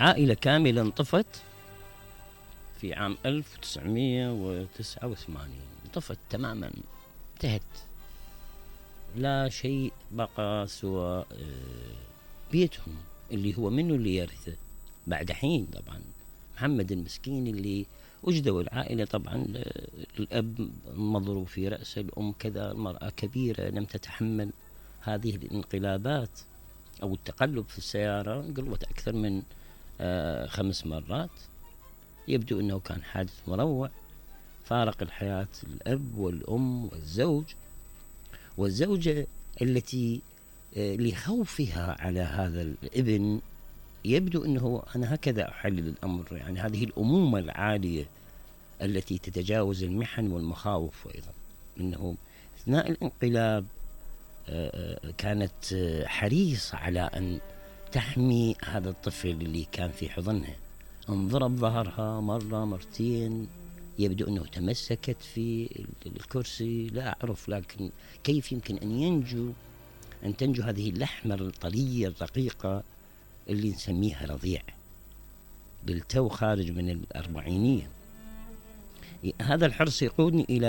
عائلة كاملة انطفت في عام 1989. انطفت تماما، انتهت، لا شيء بقى سوى بيتهم اللي هو منه اللي يرثه بعد حين. طبعا محمد المسكين اللي وجدوا العائلة، طبعا الأب مضروب في رأسه، الأم كذا، المرأة كبيرة لم تتحمل هذه الانقلابات أو التقلب في السيارة، انقلبت أكثر من 5 مرات. يبدو أنه كان حادث مروع، فارق الحياة الأب والأم والزوج والزوجة التي لخوفها على هذا الابن. يبدو أنه أنا هكذا أحلل الأمر، يعني هذه الأمومة العالية التي تتجاوز المحن والمخاوف. أيضا أنه أثناء الانقلاب كانت حريصة على أن تحمي هذا الطفل اللي كان في حضنها. انضرب ظهرها مرة مرتين، يبدو أنه تمسكت في الكرسي، لا أعرف، لكن كيف يمكن أن تنجو هذه اللحمة الطرية الرقيقة اللي نسميها رضيع بالتو خارج من الأربعينية. هذا الحرص يقودني إلى